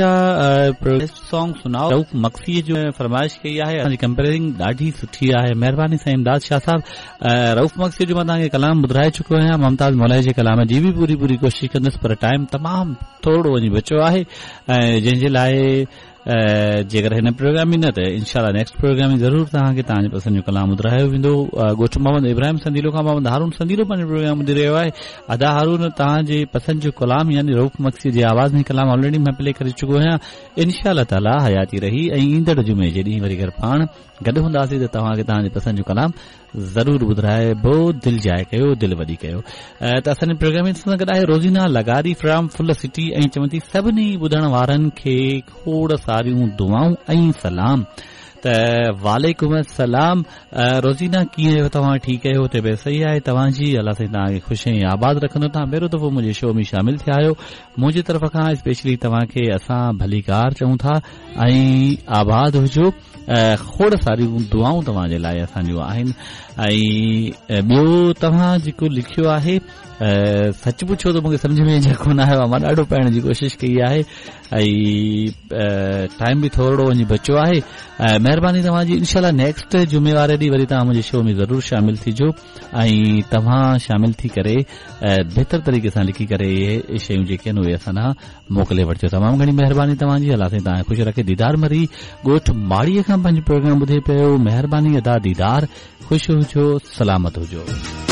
جا سانگ سناؤ رئوف مگسي جو فرمائش ڪئي آهي اسان جي ڪمپيئرنگ ڏاڍي سٺي آهي مهرباني سائين امداد شاهه صاحب رئوف مگسي جو مان توهان کي ڪلام ٻڌرائي چڪو آهيان ممتاز مولائي جي ڪلام جي به پوري پوري ڪوشش ڪندس پر ٽائيم تمام ٿورڙو وڃي بچيو آهي ۽ جنهن جي لاء جيڪر هن پروگرام ۾ نه ته انشاء الله نيڪسٽ پروگرام ۾ ضرور توهان کي توهان جي پسند جو ڪلام ٻڌرايو ويندو ڳوٺ محمد ابراهيم سنديلو کان محمد هارون سنديلو پنهنجو پروگرام ٻڌي رهيو آهي ادا هارون توهان جي پسند جو ڪلام يعني رئوف مگسي جي آواز ۾ ڪلام آلريڊي مان پلي ڪري چڪو آهيان انشاء الله تعالي حياتي رهي ۽ ايندڙ جمعي جي ڏينهن وري گهر پاڻ گڏ هونداسين ته توهان کي توهان جي پسند جو ڪلام ضرور ٻڌرائبو دل جاء ڪيو دل وڏي ڪيو ته اسان جي پروگرام ۾ سان گڏ آهي روزينا لغاري فرام ڦل سٽي ۽ چون ٿي سڀني ٻڌڻ وارن کي کوڙ ساريون دعائون ۽ سلام ته وعليڪم السلام روزينا ڪيئن آهيو توهان ٺيڪ آهيو طبيعت صحيح آهي توهان جي الله سائين توهان کي خوش ۽ آباد رکندو توهان پهريون دفعو منهنجي شو ۾ شامل ٿيا آهيو منهنجي طرف کان اسپيشلي توهان کي اسان ڀليڪار چئون ٿا ۽ آباد هجو کوڙ ساريون دعائون توهان جي لاء اسان جون آهن ۽ ٻيو توهان جيڪو لکيو آهي سچ پڇو ته مونکي سمجهه ۾ اڃا ڪونه آيو آهي مان ڏاڍو پڙهڻ جي ڪوشش ڪئي آهي ۽ ٽائيم به ٿورڙو وڃي بچيو آهي مهرباني توهان جي انشاء الله نيڪسٽ جمعي واري ڏينهن وري توهان منهنجي شو ۾ ضرور شامل ٿيجو ۽ توهان شامل ٿي ڪري بهتر طريقي سان لکي ڪري اهي شيون جيڪي آهن اهي اسان ڏانهن موڪلي وٺجو تمام گهڻي مهرباني توهان جي الله سائين توهان کي خوش رکي ديدار مري ڳوٺ ماڙي کان پنهنجو پروگرام ٻڌي پيو مهرباني ادا ديدار خوش هجو سلامت هجو.